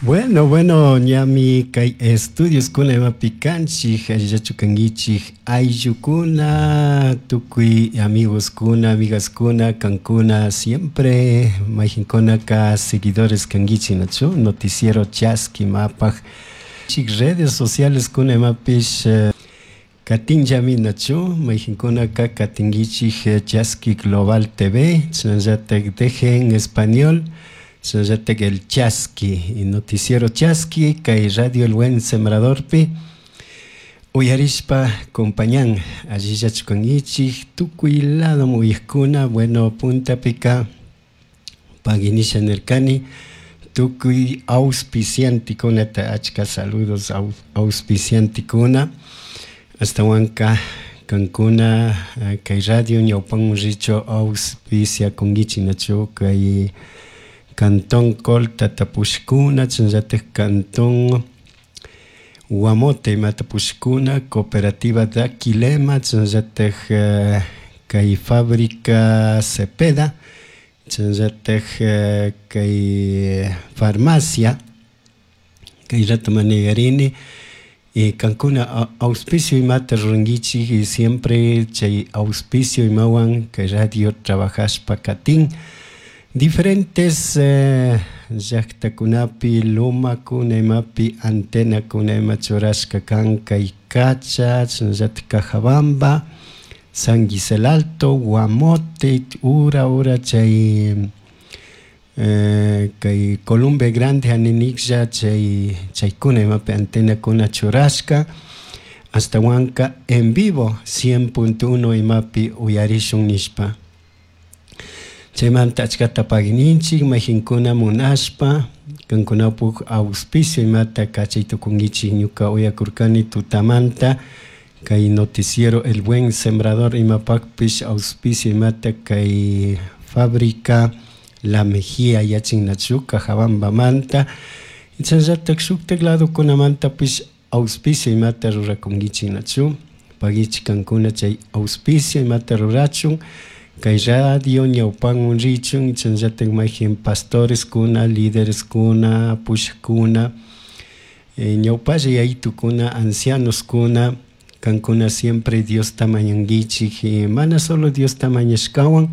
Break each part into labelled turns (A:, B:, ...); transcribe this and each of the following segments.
A: Bueno, bueno, ñami kay estudioskuna imapi kanchik, allillachu kankichik, ayllukuna, tukuy amigoskuna, amigaskuna, kankuna, siempre mayqinkunaka seguidores kankichik, nachu? Noticiero Chaski mapaj chik redes sociales kuna imapish katinllami, nachu? Mayqinkunaka katinkichik Chaski Global TV, chashnallatak Deje en Español, chashnallatak El Chaski, y Noticiero Chaski, kay Radio El Buen Sembradorpi uyarishpa compañan, allillachu kankichik, tukuy lado uyajkuna. Bueno, puntapika paguinisha nirkani tukuy auspiciantikunata, achka saludos auspiciantikuna, ashtawanka kankuna kay radio ñawpanman richu auspiciakunkichik, nachu? Kay Cantón Colta tapushkuna, chashnallatak Cantón Guamote imata pushkuna, Cooperativa Daquilema, chashnallatak kay Fábrica Cepeda, chashnallatak kay farmacia kay rato manejarini. Y kankuna auspicio imata rurankichik y siempre chay auspicio imawan kay radio trabajashpa katin diferentes llaktakunapi, lomakuna imapi antenakuna ima churashka kan, kay Cacha, chashnallatak Cajabamba, San Gisel Alto, Guamote, ura ura chay kay Columbe Grande aniniklla chay chaykuna imapi antenakuna churashka, ashtawanka en vivo 100.1 imapi uyarishun nishpa. Chaymanta achkata paguininchik mayqinkuna munashpa kankunapuk auspicio imata kachay tukunkichik. Ñuka uyakurkani tutamanta kay Noticiero El Buen Sembrador imapakpish auspicio imata kay Fábrica La Mejía yachinnachu Cajabambamanta, chashnallatak shuktak ladokunamantapish auspicio imata rurakunkichik, nachu? Paguichik kankuna chay auspicio imata rurachun kay radio ñawpanman richun. Chashnallatak mayjin pastoreskuna, lidereskuna, pushakuna, ñawpalla yayitukuna, ancianoskuna, kankuna siempre Diosta mañankichik, mana solo Diosta mañashkawan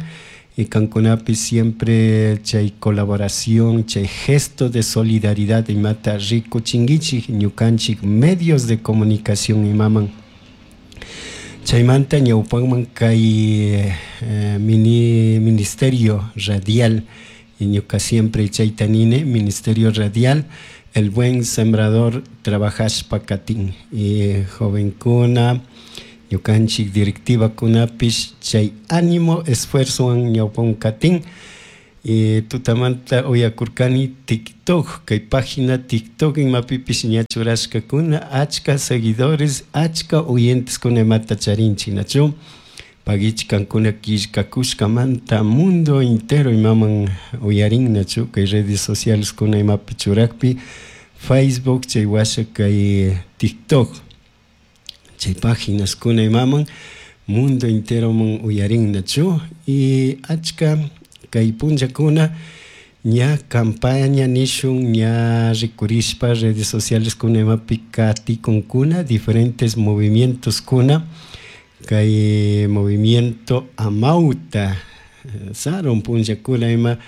A: y kankunapish siempre chay colaboración, chay gesto de solidaridad imata rikuchinkichik ñukanchik medios de comunicación imaman. Chaymanta ñawpanman kay mini ministerio radial, y ñuka siempre chayta nini, ministerio radial El Buen Sembrador trabajashpa katin, y jovenkuna, ñukanchik directivakunapish chay ánimo, esfuerzowan ñawpan katin. Y tutamanta uyakurkani TikTok, kay página TikTok imapipish ña churashkakuna, achka seguidores, achka oyenteskuna imata charinchik, nachu? Paguichik kankuna killkakushkamanta, mundo entero imaman uyarin, nachu? Kay redes sociales kuna imapi churakpi, Facebook, chay washa kay TikTok, chay páginas kuna imaman mundo enteroman uyarin, nachu? Y achka kay punllakuna ña campaña nishun ña rikurishpa redes sociales kuna imapi katikunkuna diferentes movimientos kuna, kay movimiento Amauta sarun punllakuna ima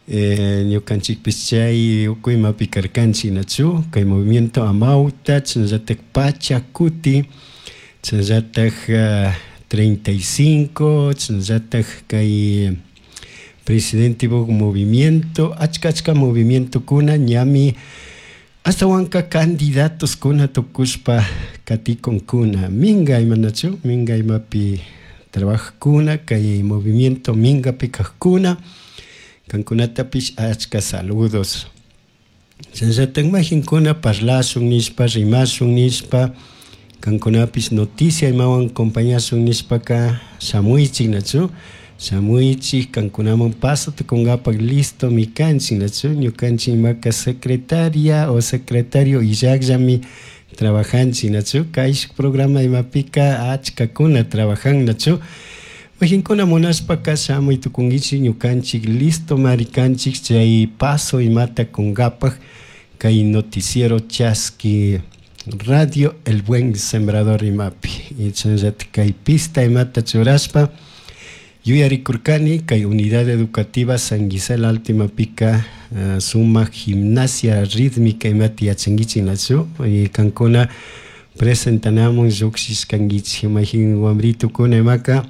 A: ñukanchikpish chay ukuy imapi karkanchik, nachu? Kay movimiento Amauta, chashnallatak Pachacuti, chashnallatak 35, chashnallatak kay presidente movimiento, achka achka movimientokuna ñami ashtawanka candidatos kuna tukushpa katikunkuna, minga imanachu, minga imapi trabajakuna, kay movimiento mingapi kajkuna, kankunatapish achka saludos. Chashnallatak majinkuna parlashun nishpa, rimashun nishpa, kankunapish noticia imawan acompañashun nishpaka shamuychik, nachu? Shamuychik, kankunaman paso tukunkapak listomi kanchik, nachu? Ñukanchik imaka secretaria o secretario illakllami trabajanchik, nachu? Kay programa imapika achkakuna trabajan, nachu? Majinkuna munashpaka shamuy tukunkichik, ñukanchik listo mari kanchik chay paso imata kunkapak. Kay noticiero Chaski Radio El Buen Sembrador imapi. Y chashnallatak kay pista imata churashpa yuyarikurkani kay unidad educativa San Gisela Alto imapika sumak gimnasia rítmica imata yachankichik nachu y kankuna presentanamun llukshishkankichik mayjin wambritukuna imaka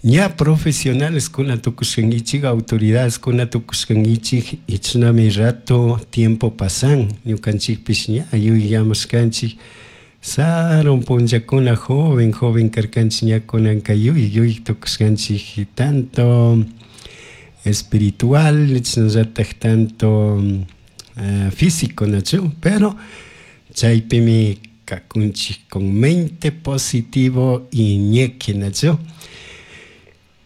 A: ña profesionaleskuna tukushkankichik autoridadeskuna tukushkankichik y chashnami rato tiempo pasan ñukanchikpish ña yuyamashkanchik sarun punllakuna joven joven karkanchik ña kunanka yuy yuy tukushkanchik tanto espiritual chashnallatak tanto físico nachu pero chaypimi kakunchik con mente positivo y ñeque nachu.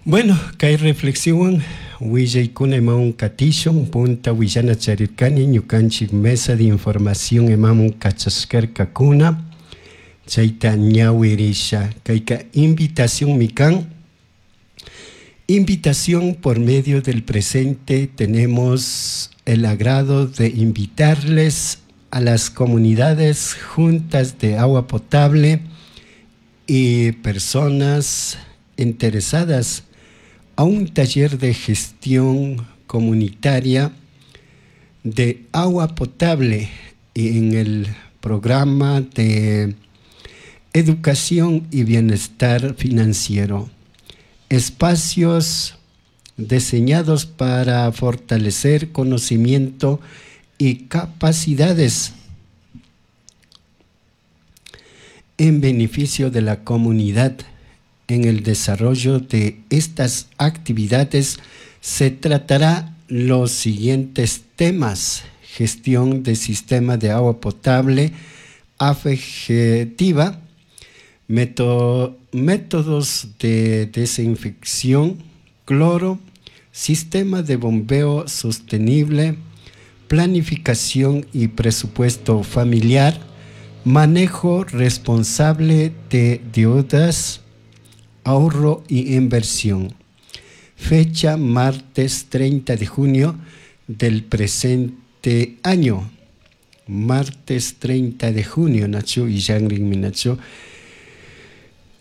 A: Bueno, kay reflexionwan willaykuna imawan katishun punta willana charirkani ñukanchik mesa de información imamun kachashkarkakuna chayta ñawirisha kayka invitacionmi kan. Invitación por medio del presente tenemos el agrado de invitarles a las comunidades juntas de agua potable y personas interesadas a un taller de gestión comunitaria de agua potable en el programa de educación y bienestar financiero. Espacios diseñados para fortalecer conocimiento y capacidades en beneficio de la comunidad. En el desarrollo de estas actividades se tratará los siguientes temas: gestión de sistema de agua potable afectiva, métodos de desinfección, cloro, sistema de bombeo sostenible, planificación y presupuesto familiar, manejo responsable de deudas, ahorro y inversión. Fecha martes 30 de junio del presente año. Martes 30 de junio, Nacho y Nacho.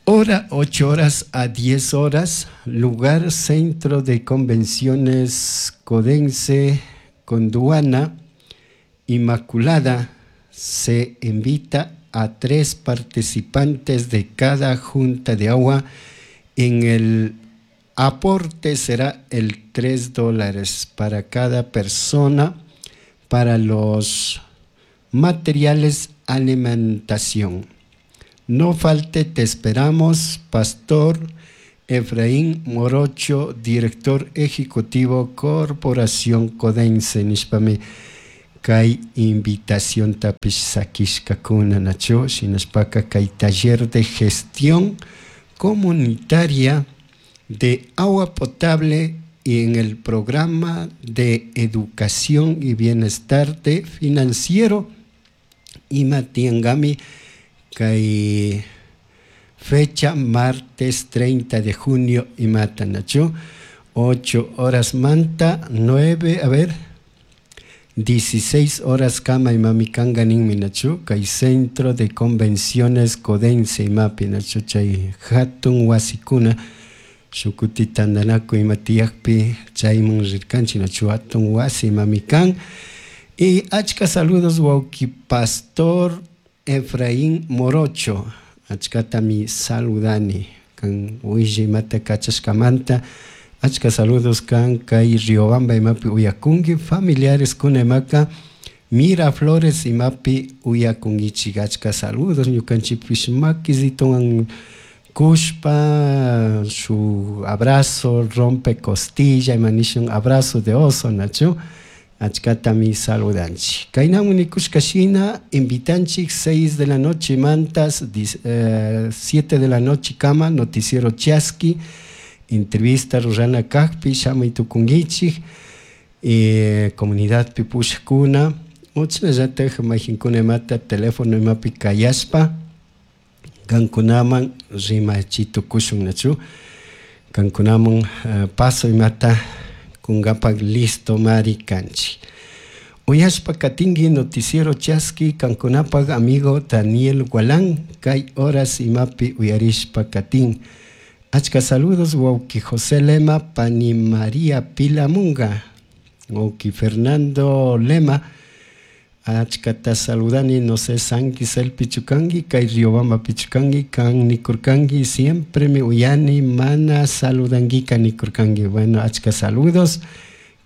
A: Hora 8 horas a 10 horas, lugar Centro de Convenciones Codense Conduana Inmaculada. Se invita a 3 participantes de cada junta de agua. En el aporte será el $3 para cada persona para los materiales alimentación. No falte, te esperamos, Pastor Efraín Morocho, director ejecutivo Corporación Codense. Nishpami kay invitación tapish sakishkakuna nachu shinashpaka kay taller de gestión comunitaria de agua potable y en el programa de educación y bienestar de financiero ima tiangami kay fecha martes 30 de junio imata nachu 8 horas manta 9 a ver 16 horas kama imami kanga ninmi nachu kay centro de convenciones Codense imapi nachu chay hatun wasikuna shukuti tandanaku ima tiyakpi chayman rirkanchik nachu hatun wasi imami kan. Y achka saludos wawki Pastor Efraín Morocho, achkatami saludani kan willa imata kachashkamanta. Achka saludos kan kay Riobamba imapi uyakunki familiares kuna imaka Miraflores imapi uyakunkichik. Achka saludos ñukanchikpish makisituwan kushpa su abrazo rompe costilla ima nishun abrazo de oso nachu achkatami saludanchik. Kaynamun nikushka shina invitanchik 6 de la noche mantas 7 de la noche kama noticiero Chaski entrevista rurana kakpi shamuy tukunkichik comunidad pipushkuna uchnallatak mayjinkuna imata teléfono imapi kayashpa kankunaman rimachitukushun nachu kankunaman paso imata kunkapak listo mari kanchik. Uyashpa katinki noticiero chaski kankunapak amigo Daniel Gualán kay horas imapi uyarishpa katin. Achka saludos wawki José Lema, pani María Pilamunga, wawki Fernando Lema, achkata saludani, no sé, San Gisel pichukangi, kay Riobamba pichukangi, kan nikurkangi, siempre me uyani, mana saludanguika nikurkangi. Bueno, achka saludos,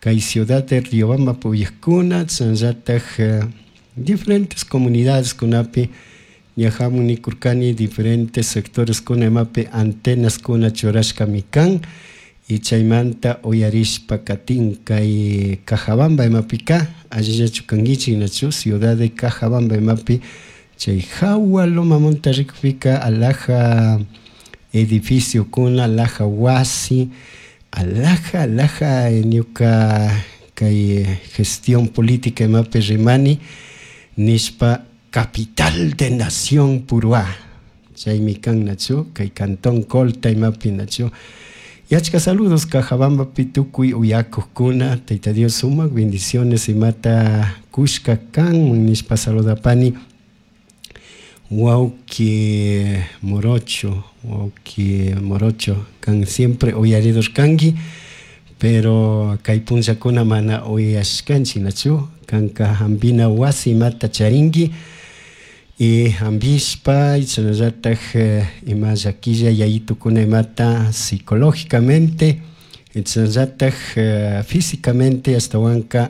A: kay ciudad de Riobamba puyajkuna, chasnallataj diferentes comunidades kunapi, ña hamun nikurkani diferentes sectores kuna imapi antenas kuna churashkami kan, y chaymanta uyarishpa katin kay Cajabamba imapika, allillachu kankichik nachu ciudad de Cajabamba imapi, chay jawa lomamunta rikpika alhaja edificiokuna, alhaja wasi, alhaja, alhaja ñuka kay gestión política imapi rimani nishpa capital de nación Puruhá, chaymi kan nachu kay cantón Colta imapi nachu. Y achka saludos Cajabambapi tukuy uyakukuna, Tayta Dios sumak bendiciones imata kushka kan nishpa saludapani wawki Morocho, wawki Morocho kan siempre uyaridur kanki, pero kay punllakuna mana uyashkanchik nachu, kanka hampina wasi imata charinki y hampishpa chashnallatak ima llakilla yayitukuna imata psicológicamente chashnallatak físicamente ashtawanka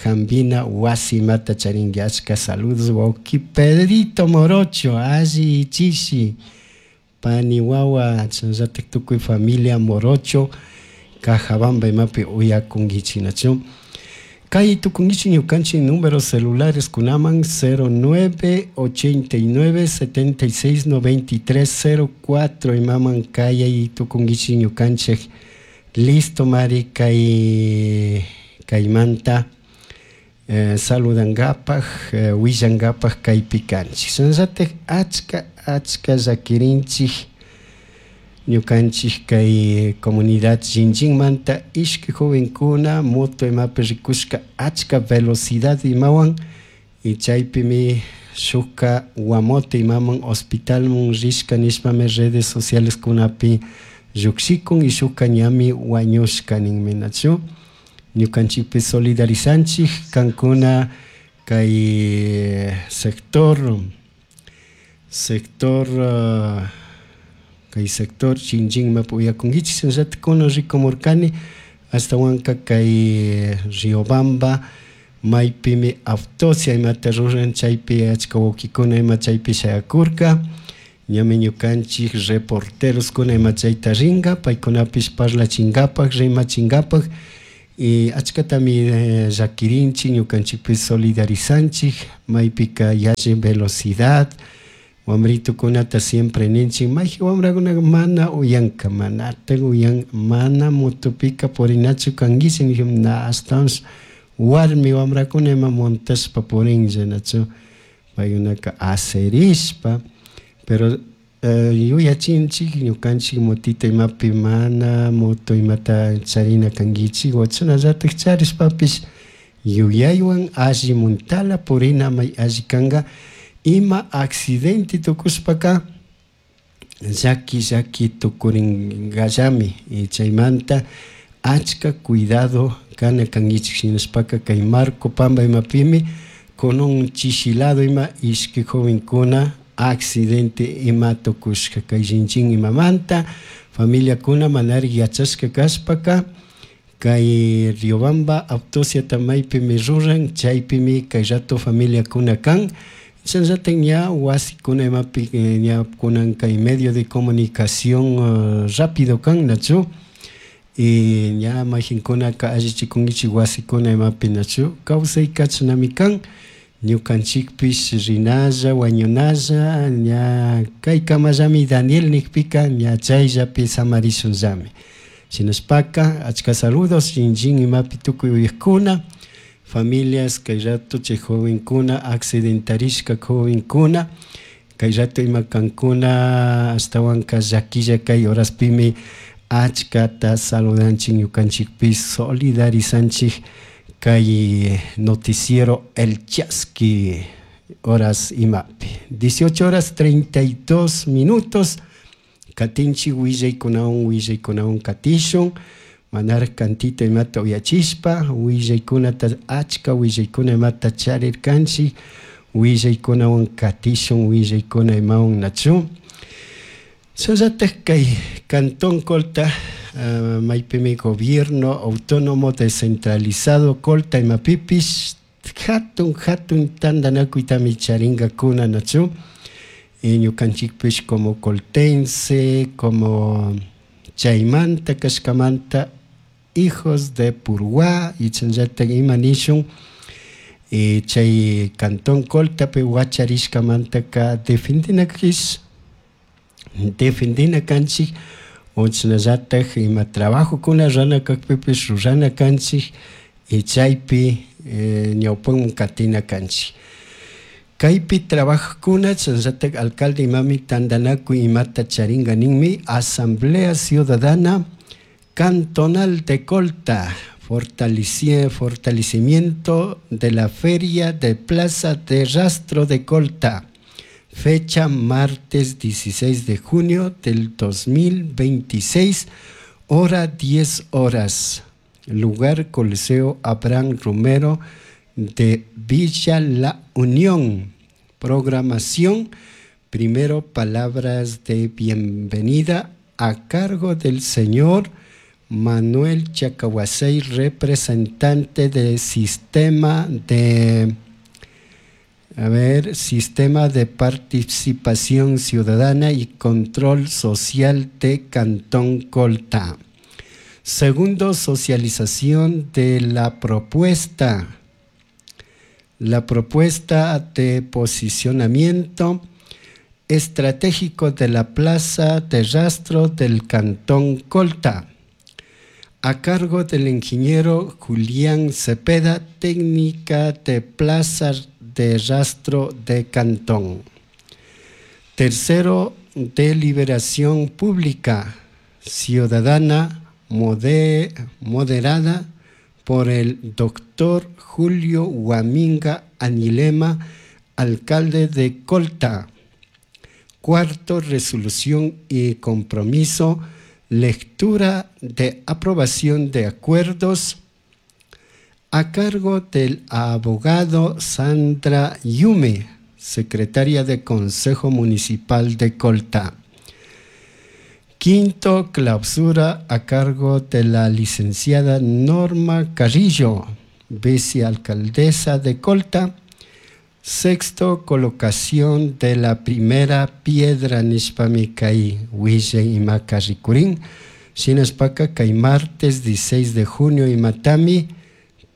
A: hampina wasi imata charinki. Achka saludos wawki Pedrito Morocho, alli chishi pani wawa chashnallatak tukuy familia Morocho Cajabamba imapi uyakunkichik nachu. Kay tukunkichik ñukanchik números celulares kunaman 09 89 76 93 04 imaman kayay tukunkichik ñukanchik. Listo mari kay kaymanta saludangapak willangapak kaypi kanchik. Shinallatak achka achka llakirinchik ñukanchik kay comunidad Llinchinmanta ishki jovenkuna moto imapi rikushka achka velocidad imawan y chaypimi shukka Guamote imaman hospitalmun rishka nishpami redes sociales kunapi llukshikun y shukka ñami wañushka ninmi nachu. Ñukanchikpi solidarizanchik kankuna kay sector, sector kay sector Chinchinmapi uyakunkichik shinallatak kunan rikumurkani ashtawanka kay Riobamba maypimi autopsia imata ruran chaypi achka wawkikuna ima chaypi shayakurka, ñami ñukanchik reporteroskuna ima chayta rinka paykunapish parlachinkapak rimachinkapak y achkatami llakirinchik ñukanchikpish solidarizanchik maypika yalli velocidad wambritukunata siempre ninchik mayjin wambrakunaka mana uyanka manatak uyan mana motopika purinachu kankichik nijun na ashtawanpish warmi wambrakuna ima montashpa purinlla nachu paykunaka aserishpa pero yuyachinchik ñukanchik motita imapi mana moto imata charina kankichik o chashnallatak charishpapish yuyaywan alli muntala purina may alli kanka ima accidente tukushpaka llaki llaki tukurinkallami y chaymanta achka cuidado kana kankichik shinashpaka kay Marco Pamba imapimi con un chishilado ima ishki jovenkuna accidente ima tukushka kay Llinchin imamanta familiakuna manarik yachashka kashpaka kay Riobamba autopsiata maypimi ruran chaypimi kay rato familiakuna kan chashnallatak ña wasikuna imapi ña kunan kay medio de comunicación rápido kan nachu y ña mayjinkunaka allichikunkichik wasikuna imapi nachu kawsayka chashnami kan ñukanchikpish rinalla wañunalla ña kaykamallami Daniel nikpika ña chayllapi samarishunllami shinashpaka achka saludos Llinchin imapi tukuy uyakuna familias kay rato chay jovenkuna accidentarishka jovenkuna kay rato ima kankuna ashtawanka llakilla kay horaspimi achkata saludanchik ñukanchikpish solidarizanchik. Kay noticiero El Chasqui horas imapi. 18 horas 32 minutos. Katinchik willaykunawan willaykunawan katishun. Manaraj kantita imata uyachishpa willaykunata achka willaykuna imata charirkanchik willaykunawan katishun willaykuna imawan nachu. Shinallatak kay Cantón Colta maypimi gobierno autónomo descentralizado Colta imapipish hatun hatun tantanakuytami charinkakuna nachu. Ñukanchikpish como coltense, como chaymanta kashkamanta hijos de Purúa y chayllatak ima nishun chay Cantón Coltapi wacharishkamantaka defendinakish defendina kanchik o chashnallatak ima trabajokuna rurana kakpipish rurana kanchik y chaypi ñawpaman katina kanchik. Kaypi trabajajkuna chashnallatak alcalde imami tantanakuy imata charinka ninmi Asamblea Ciudadana Cantonal de Colta, fortalecimiento de la Feria de Plaza de Rastro de Colta. Fecha martes 16 de junio del 2026, hora 10 horas. Lugar Coliseo Abraham Romero de Villa La Unión. Programación, primero palabras de bienvenida a cargo del señor Manuel Chacahuasey, representante del sistema de sistema de participación ciudadana y control social de Cantón Colta. Segundo, socialización de la propuesta. La propuesta de posicionamiento estratégico de la Plaza de Rastro del Cantón Colta, a cargo del ingeniero Julián Cepeda, técnica de Plaza de Rastro de Cantón. Tercero, deliberación pública ciudadana moderada por el doctor Julio Huaminga Anilema, alcalde de Colta. Cuarto, resolución y compromiso, lectura de aprobación de acuerdos a cargo del abogado Sandra Yume, secretaria de Consejo Municipal de Colta. Quinto, clausura a cargo de la licenciada Norma Carrillo, vicealcaldesa de Colta. Sexto, colocación de la primera piedra nishpami kay willay imaka rikurin. Shinashpaka kay martes 16 de junio imatami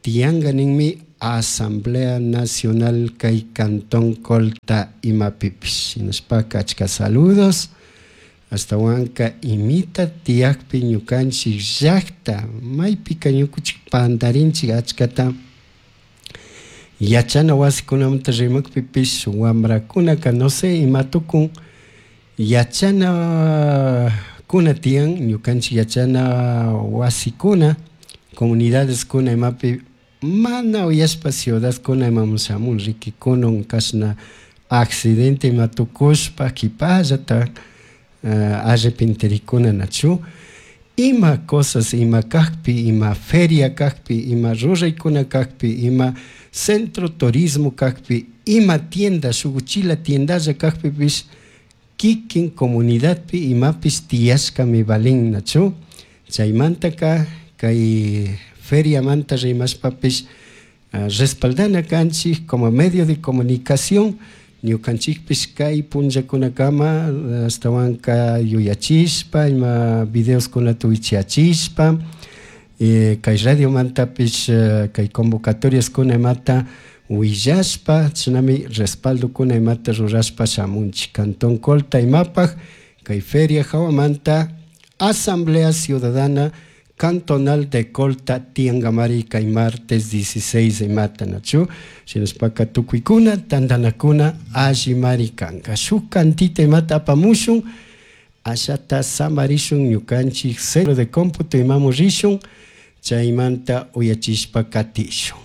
A: tiyanka ninmi Asamblea Nacional kay Cantón Colta imapipish. Shinashpaka achka saludos. Ashtawanka imita tiyakpi ñukanchik llakta maypika ñukunchik pantarinchik achkata yachana wasikunamanta rimakpipish wambrakunaka no sé ima tukun yachana kuna tiyan ñukanchik yachana wasikuna comunidadeskuna imapi mana uyashpa ciudadkuna imamun shamun riki kunan kashna accidente ima tukushpa kipallata arrepentirikuna nachu ima cosas ima kakpi ima feria kakpi ima ruraykuna kakpi ima centro turismo kakpi ima tienda shuk uchila tiendalla kakpipish kikin comunidadpi imapish tiyashkami valin nachu chaymantaka kay feriamanta rimashpapish respaldana kanchik como medio de comunicación ñukanchikpish kay punllakunakama ashtawanka yuyachishpa ima videoskunata wichiyachishpa kay radiomantapish kay convocatoriaskuna imata willashpa chashnami respaldokuna imata rurashpa shamunchik Cantón Colta imapak kay feria hawamanta Asamblea Ciudadana Cantonal de Colta tiyankamari kay martes 16 imata nachu shinashpaka tukuykuna tantanakuna allimari kanka shuk kantita imata apamushun ashata samarishun ñukanchik centro de cómputo imamun rishun chaymanta uyachishpa katishun.